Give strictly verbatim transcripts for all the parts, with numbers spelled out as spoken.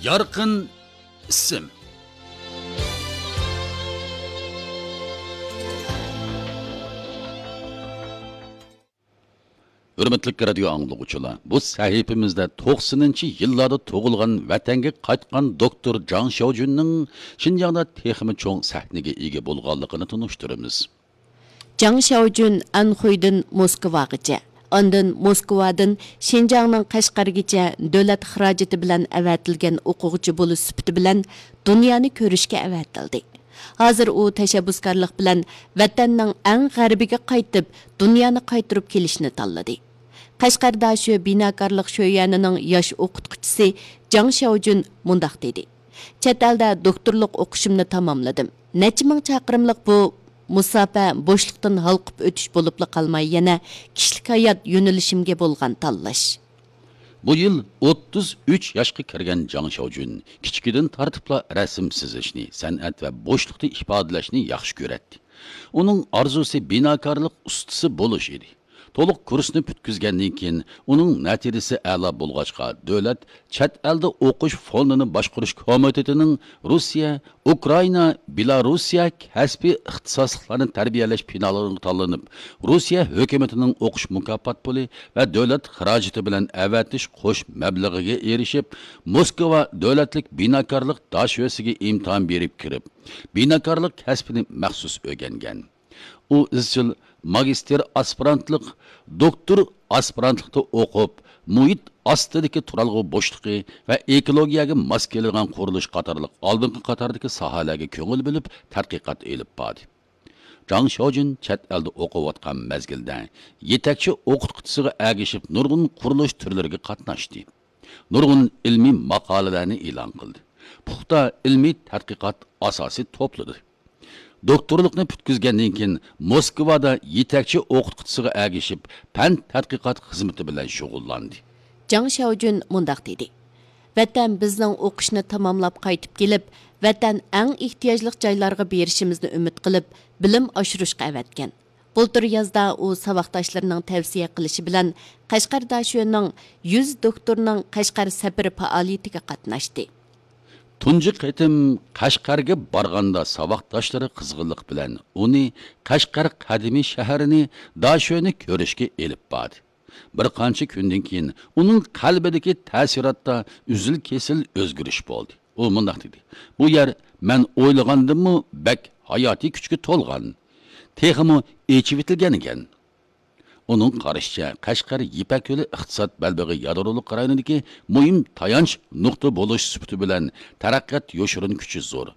يارقىن ئىسىم. ھۆرمەتلىك رادىيو ئاڭلىغۇچىلار، بۇ سەھىپىمىزدە توقسىنىنچى يىللاردا تۇغۇلغان، ۋەتەنگە قايتقان دوكتور جاڭ شياۋجۈننىڭ شىنجاڭدا تېخىمۇ چوڭ سەھنىگە ئىگە بولغانلىقىنى تونۇشتۇرىمىز. جاڭ شياۋجۈن ئەنخۇيدىن موسكۋاغىچە، ئاندىن موسكۋادىن شىنجاڭنىڭ قەشقەرگىچە دۆلەت خىراجىتى بىلەن ئەۋەتىلگەن ئوقۇغۇچى بولۇش سۈپىتى بىلەن دۇنيانى كۆرۈشكە ئەۋەتىلدى. ھازىر ئۇ تەشەببۇسكارلىق بىلەن ۋەتەننىڭ ئەڭ غەربىگە قايتىپ، دۇنيانى قايتۇرۇپ كېلىشنى تاللىدى. قەشقەر داشۆ بىناكارلىق شۆيۈەنىنىڭ ياش ئوقۇتقۇچىسى جاڭ شياۋجۈن مۇنداق دېدى: چەت ئەلدە دوكتورلۇق ئوقۇشۇمنى تاماملىدىم. نەچچە مىڭ چاقىرىملىق بۇ مۇساپە بوشلۇقتىن ھالقىپ ئۆتۈش بولۇپلا قالماي، يەنە كىشىلىك ھايات يۆنىلىشىمگە بولغان تاللاش. بۇ يىل ئوتتۇز ئۈچ ياشقا كىرگەن جاڭ شياۋجۈن كىچىكىدىن تارتىپلا رەسىم سىزىشنى، سەنئەت ۋە بوشلۇقتا ئىپادىلەشنى ياخشى كۆرەتتى. ئۇنىڭ ئارزۇسى بىناكارلىق ئۇستىسى بولۇش ئىدى. تولۇق كۇرسنى پۈتكۈزگەندىن كېيىن، ئۇنىڭ نەتىجىسى ئەلا بولغاچقا، دۆلەت چەت ئەلدە ئوقۇش فوندىنى باشقۇرۇش كومىتېتىنىڭ روسىيە، ئۇكرائىنا، بېلاروسىيە كەسپىي ئىختىساسلىقلارنى تەربىيەلەش پىنالىغا تاللىنىپ، روسىيە ھۆكۈمىتىنىڭ ئوقۇش مۇكاپات پۇلى ۋە دۆلەت خىراجىتى بىلەن ئەۋەتىش قوش مەبلىغىگە ئېرىشىپ، موسكۋا دۆلەتلىك بىناكارلىق داشۆسىگە ئىمتىھان بېرىپ كىرىپ، بىناكارلىق كەسپىنى مەخسۇس ئۆگەنگەن. ئۇ ئىزچىل ماگىستىر ئاسپىرانتلىق، دوكتور ئاسپىرانتلىقتا ئوقۇپ، مۇھىت ئاستىدىكى تۇرالغۇ بوشلۇقى ۋە ئېكولوگىيەگە ماس كېلىدىغان قۇرۇلۇش قاتارلىق ئالدىنقى قاتاردىكى ساھەلەرگە كۆڭۈل بۆلۈپ تەتقىقات ئېلىپ باردى. جاڭ شياۋجۈن چەت ئەلدە ئوقۇۋاتقان مەزگىلدە يېتەكچى ئوقۇتقۇچىسىغا ئەگىشىپ نۇرغۇن قۇرۇلۇش تۈرلىرىگە قاتناشتى. نۇرغۇن ئىلمىي ماقالىلەرنى ئېلان قىلدى. پۇختا ئىلمىي تەتقىقات ئاساسى توپلىدى. دوكتورلۇقنى پۈتكۈزگەندىن كېيىن، موسكۋادا يېتەكچى ئوقۇتقۇچىسىغا ئەگىشىپ، پەن تەتقىقات خىزمىتى بىلەن شۇغۇللاندى. جاڭ شياۋجۈن مۇنداق دېدى: ۋەتەن بىزنىڭ ئوقۇشنى تاماملاپ قايتىپ كېلىپ، ۋەتەن ئەڭ ئېھتىياجلىق جايلارغا بېرىشىمىزنى ئۈمىد قىلىپ، بىلىم ئاشۇرۇشقا ئەۋەتكەن. بۇلتۇر يازدا ئۇ ساۋاقداشلىرىنىڭ تەۋسىيە قىلىشى بىلەن قەشقەر داشۆنىڭ يۈز دوكتورنىڭ قەشقەر سەپىرى پائالىيىتىگە قاتناشتى. تۇنجى قېتىم قەشقەرگە بارغاندا ساۋاقداشلىرى قىزغىنلىق بىلەن ئۇنى قەشقەر قەدىمىي شەھىرىنى، داشۆنى كۆرۈشكە ئېلىپ باردى. بىر قانچە كۈندىن كېيىن ئۇنىڭ قەلبىدىكى تەسىراتتا ئۈزۈل-كېسىل ئۆزگىرىش بولدى. ئۇ مۇنداق دېدى: بۇ يەر مەن ئويلىغاندىنمۇ بەك ھاياتىي كۈچكە تولغان، تېخىمۇ ئېچىۋېتىلگەن ئىكەن. ئۇنىڭ قارىشىچە، قەشقەر يىپەك يولى ئىقتىساد بەلبېغى يادرولۇق رايونىدىكى مۇھىم تايانچ نۇقتا بولۇش سۈپىتى بىلەن تەرەققىيات يوشۇرۇن كۈچى زور.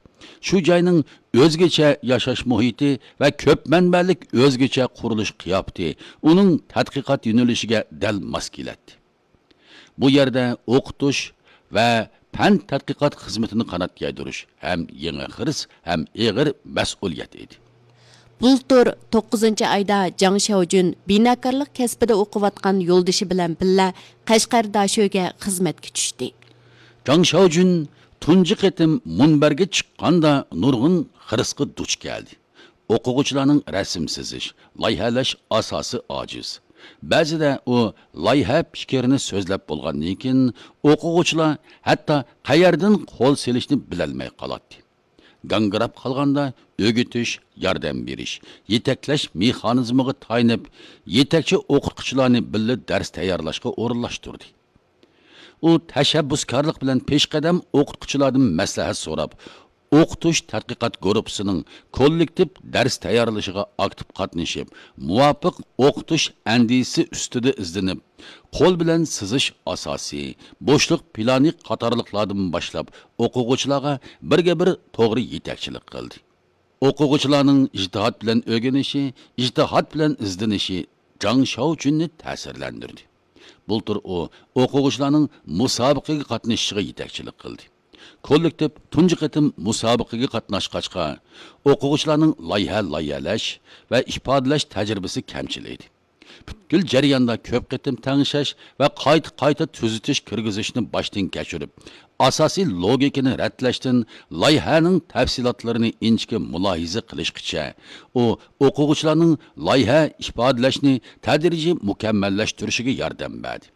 شۇ جاينىڭ ئۆزگىچە ياشاش مۇھىتى ۋە كۆپ مەنبەلىك ئۆزگىچە قۇرۇلۇش قىياپىتى ئۇنىڭ تەتقىقات يۆنىلىشىگە دەل ماس كېلەتتى. بۇ يەردە ئوقۇتۇش ۋە پەن تەتقىقات خىزمىتىنى قانات يايدۇرۇش ھەم يېڭى خىرىس، ھەم ئېغىر مەسئۇلىيەت ئىدى. بۇلتۇر توققۇزىنچى ئايدا جاڭ شياۋجۈن بىناكارلىق كەسپىدە ئوقۇۋاتقان يولدىشى بىلەن بىللە قەشقەر داشۆگە خىزمەتكە چۈشتى. جاڭ شياۋجۈن تۇنجى قېتىم مۇنبەرگە چىققاندا نۇرغۇن خىرىسقا دۇچ كەلدى. ئوقۇغۇچىلارنىڭ رەسىم سىزىش، لايىھەلەش ئاساسى ئاجىز. بەزىدە ئۇ لايىھە پىكرىنى سۆزلەپ بولغاندىن كېيىن، ئوقۇغۇچىلار ھەتتا قەيەردىن قول سېلىشنى بىلەلمەي قالاتتى. گاڭگىراپ قالغاندا ئۆگىتىش، ياردەم بېرىش، يېتەكلەش مېخانىزمىغا تايىنىپ، يېتەكچى ئوقۇتقۇچىلارنى بىللە دەرس تەييارلاشقا ئورۇنلاشتۇردى. ئۇ تەشەببۇسكارلىق بىلەن پېشقەدەم ئوقۇتقۇچىلاردىن مەسلىھەت سوراپ، ئوقۇتۇش تەتقىقات گۇرۇپپىسىنىڭ كوللېكتىپ دەرس تەييارلىشىغا ئاكتىپ قاتنىشىپ، مۇۋاپىق ئوقۇتۇش ئەندىزىسى ئۈستىدە ئىزدىنىپ، قول بىلەن سىزىش ئاساسى، بوشلۇق پىلانى قاتارلىقلاردىن باشلاپ، ئوقۇغۇچىلارغا بىرگە بىر توغرا يېتەكچىلىك قىلدى. ئوقۇغۇچىلارنىڭ ئىجتىھات بىلەن ئۆگىنىشى، ئىجتىھات بىلەن ئىزدىنىشى جاڭ شياۋجۈننى تەسىرلەندۈردى. بۇلتۇر ئۇ ئوقۇغۇچىلارنىڭ مۇسابىقىگە قاتنىشىشىغا يېتەكچىلىك قىلدى. كوللېكتىپ تۇنجى قېتىم مۇسابىقىگە قاتناشقاچقا، ئوقۇغۇچىلارنىڭ لايىھە لايىھەلەش ۋە ئىپادىلەش تەجرىبىسى كەمچىل ئىدى. پۈتكۈل جەرياندا كۆپ قېتىم تەڭشەش ۋە قايتا-قايتا تۈزىتىش كىرگۈزۈشنى باشتىن كەچۈرۈپ، ئاساسىي لوگىكىنى رەتلەشتىن لايىھەنىڭ تەپسىلاتلىرىنى ئىنچىكە مۇلاھىزە قىلىشقىچە، ئۇ ئوقۇغۇچىلارنىڭ لايىھە ئىپادىلەشنى تەدرىجىي مۇكەممەللەشتۈرۈشىگە ياردەم بەردى.